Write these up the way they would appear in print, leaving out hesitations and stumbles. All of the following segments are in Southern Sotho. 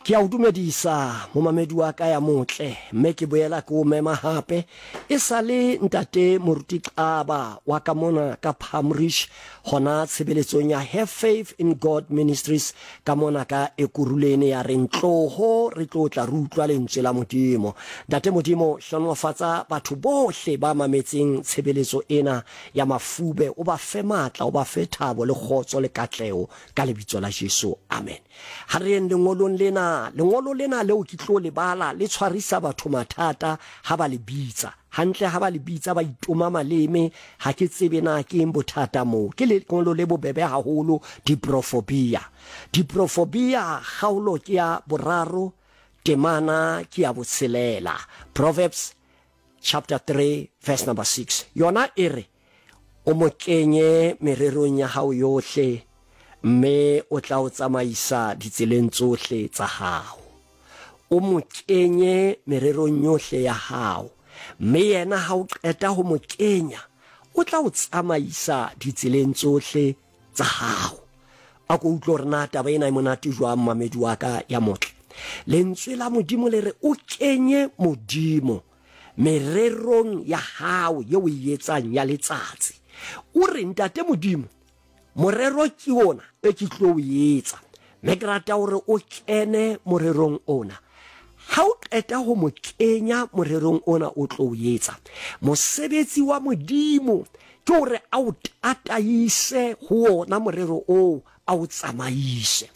Ke a o dumedisa momamedi wa ka ya motle, mme ke boela ke o mema hape. E sa le ntate Moruti Xaba wa ka mona ka Palmridge, hona tshebeletsong ya Have Faith in God Ministries ka mona ka Ekurhuleni, ya reng tloho re tlo tla re utlwa lentswe la Modimo. Ntate Modimo, hlohonolofatsa batho bohle ba mametseng tshebeletso ena ya mafube, o ba fe matla, o ba fe thabo le kgotso le katleho ka lebitso la Jesu. Amen. Ha re yeng lengolong lena. Lengolo lena leo ke tlo le bala le tshwarisa batho mathata ha ba le bitsa. Hantle ha ba le bitsa ba itoma maleme, ha ke tsebe na ke eng bothata moo. Ke lengolo le bobebe haholo, Diprofobia. Diprofobia, kgaolo ke ya boraro, temana ke ya botshelela. Proverbs chapter 3 verse number 6. Yona e re, O mo kenye mererong ya hao yohle, mme o tla o tsamaisa ditseleng tsohle tsa hao. O mo kenye mererong yohle ya hao, mme yena ha o qeta ho mo kenya, o tla o tsamaisa ditseleng tsohle tsa hao. A ko utlwe hore na taba ena e monate jwang, mamedi wa ka ya motle. Lentswe la Modimo le re o kenye Modimo mererong ya hao ye o e etsang ya letsatsi. O re, Ntate Modimo, morero ke ona e ke tlo o etsa, mme ke rata hore o kene morerong ona. Ha o qeta ho mo kenya morerong ona o tlo o etsa, mosebetsi wa Modimo ke hore a o tataise ho ona morero oo, a o tsamaise.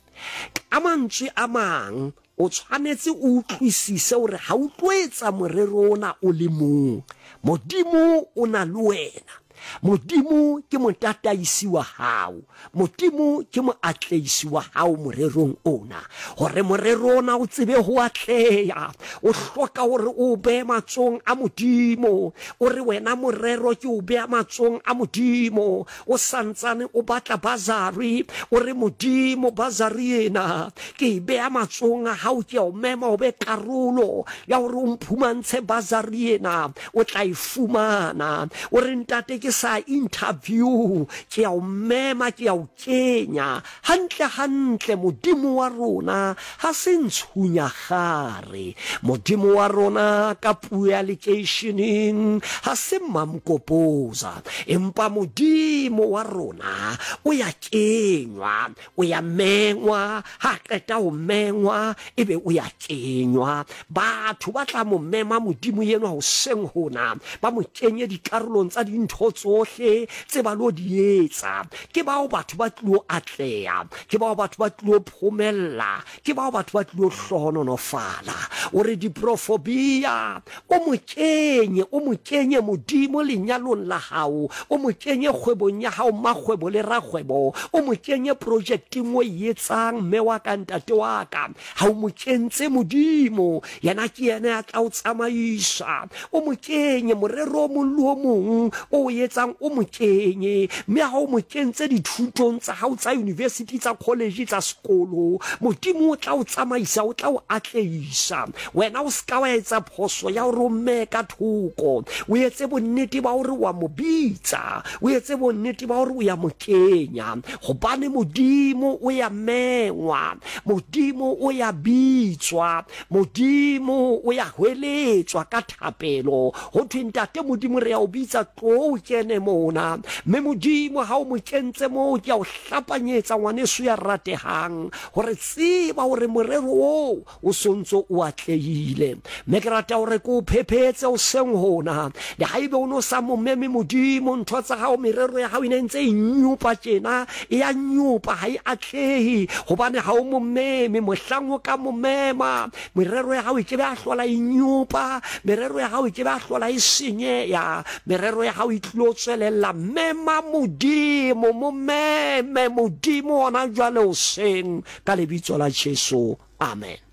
Ka mantswe a mang, O tshwanetse o utlwisise hore ha o tlo etsa morero ona o le mong. Modimo o na le wena. Modimo ke motataisi wa hao. Modimo ke moatlehisi wa hao morerong ona. Hore morero ona o tsebe ho atleha, o hloka hore o o behe matsohong a Modimo. O re wena morero ke o beha matsohong a Modimo. O sa ntsane o batla basari, o re, Modimo, basari ena ke e beha matsohong a hao, ke a o mema o be karolo ya hore o mphumantshe basari ena, o tla e fumana. O re, Ntate, ke sa interview, ke a o mema, ke a o kenya. Hantle hantle Modimo wa rona ha se ntshunyagare. Modimo wa rona ka puo ya lekeisheneng ha se mamkopoza. Empa Modimo wa rona o ya kenywa, o ya mengwa, ha a qeta ho mengwa ebe o ya kenywa. Batho ba tla mo mema Modimo enwa hoseng hona, ba mo kenye dikarolong tsa dintho tsohle tse ba lo di etsa. Ke bao batho ba tlilo atleha, ke bao batho ba tlilo phomella, ke bao batho ba tlilo hlohonolofala. O re diprofobia, o mo kenye, o mo kenye Modimo lenyalong la hao, o mo kenye kgwebong ya hao, mmakgwebo le rakgwebo, o mo kenye projekteng o e etsang, mme wa ka, ntate wa ka. Ha o mo kentse Modimo, yena ke yena ya tla o tsamaisa. O mo kenye morero o mong le o mong o o etsang, o mo kenye. Mme ha o mo kentse dithutong tsa hao tsa university, tsa college, tsa sekolo, Modimo o tla o tsamaisa, o tla o atlehisa. Wena o se ka wa etsa phoso ya hore o mmee ka thoko. O etse bonnete ba hore wa mo bitsa, o etse bonnete ba hore o ya mo kenya, gobane Modimo o ya mengwa. Modimo o ya bitswa, Modimo o ya hweletswa ka thapelo. Ho thwe, Ntate Modimo, re ya o bitsa, tloo o kene mona. Mme Modimo, ha o mo kentse moo, ke a o hlapanyetsa, ngwaneso ya ratehang, hore tseba hore morero oo o sontso o atlehile. Mme ke rata hore ke o phephetse hoseng hona. Le haebe o no sa mo meme Modimo, ntho tsa hao, merero ya hao e ne ntse e nyopa tjena, e a nyopa, ha e atlehe, hobane ha o mo meme. Mohlang o ka mo mema, merero ya hao e ke be a hlola e nyopa, merero ya hao e ke be a hlola e senyeha, merero ya hao e tlilo tswelella. Mema Modimo, mo meme Modimo hona jwale hoseng, ka lebitso la Jesu. Amen.